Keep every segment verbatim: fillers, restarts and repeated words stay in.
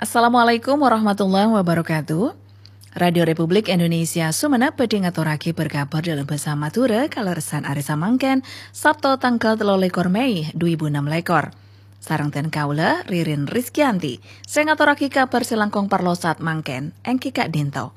Assalamualaikum warahmatullahi wabarakatuh. Radio Republik Indonesia Sumenep bhâdhi ngatorraghi berkabar dalam bahasa Madura kalerressan arè samangkèn, Sabto tanggal tello lèkor Mei dua èbu ennem lèkor. Sareng dhân kaulâ, Ririn Rizkyanti, sè ngatorraghi kabar sè langkong parlo saat mangkèn, èngghi ka'dinto.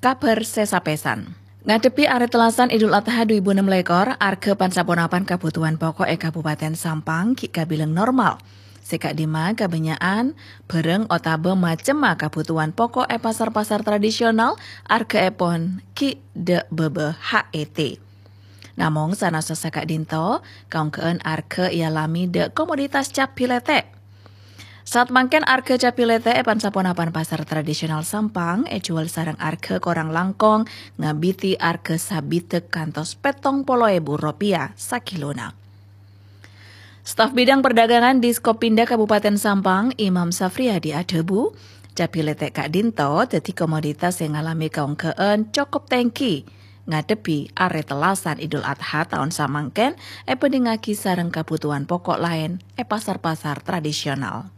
Kabar sè sapèsan. Ngadhebbhi Arè Tellasan Idul Adha dua èbu ennem lèkor, arghâ pan-saponapan kabhutowan pokok è Kabupaten Sampang ghi' kabilang normal. Sè ka'dimma kabânnya'an bhârâng otabâ macemma kabhutowan pokok è pasar-pasar tradisional, arghâèpon ghi' dâ' bâbâ H E T. Namong sanaossa saka'dinto, kaongga'an arghâ èalamè dâ' komoditas cabbhi lètè'. Saat mangkèn arghâ cabbhi lètè' è pan-saponapan pasar tradisional Sampang èjhuwâl sareng arghâ korang langkong ngabidhi arghâ sabidhek kantos pèttong polo èbu ropèya sakilona. Staf Bidang Perdagangan Diskopinda Kabupaten Sampang, Imam Safriyadi adhâbu, cabbhi lètè' ka'dinto dhâddhi komoditas sè ngalamè kaongga'an cokop tèngghi ngadhebbhi Arè Tellasan Idul Adha taon samangkèn èbhândhingngaghi sareng kabhutowan pokok laèn è pasar-pasar tradisional.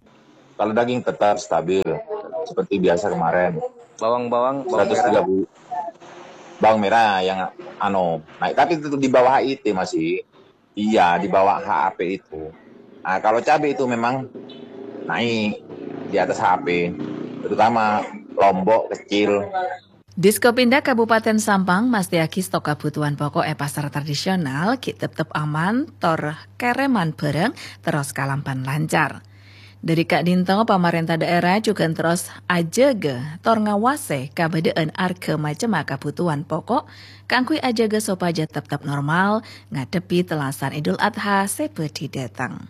Kalau daging tetap stabil seperti biasa kemarin. Bawang-bawang, bawang merah. seratus tiga puluh. Bawang merah yang anu naik, tapi tetap di bawah H I T masih. Iya, di bawah H A P itu. Nah, kalau cabai itu memang naik di atas H A P, terutama lombok kecil. Diskopinda Kabupaten Sampang mastèyaghi stok kabhutowan pokok è pasar tradisional ghi' teptep aman, tor kèrèman bhârâng terros kalampan lancar. Dhâri ka'dinto, pamarènta dhaèra jhughân terros ajâgâ tor ngawasè kabâdâ'ân arghâ macemma kabhutowan pokok kaangghuy ajâgâ sopajâ teptep normal ngadhebbhi tellasan Idul Adha sè bhâdhi dâteng.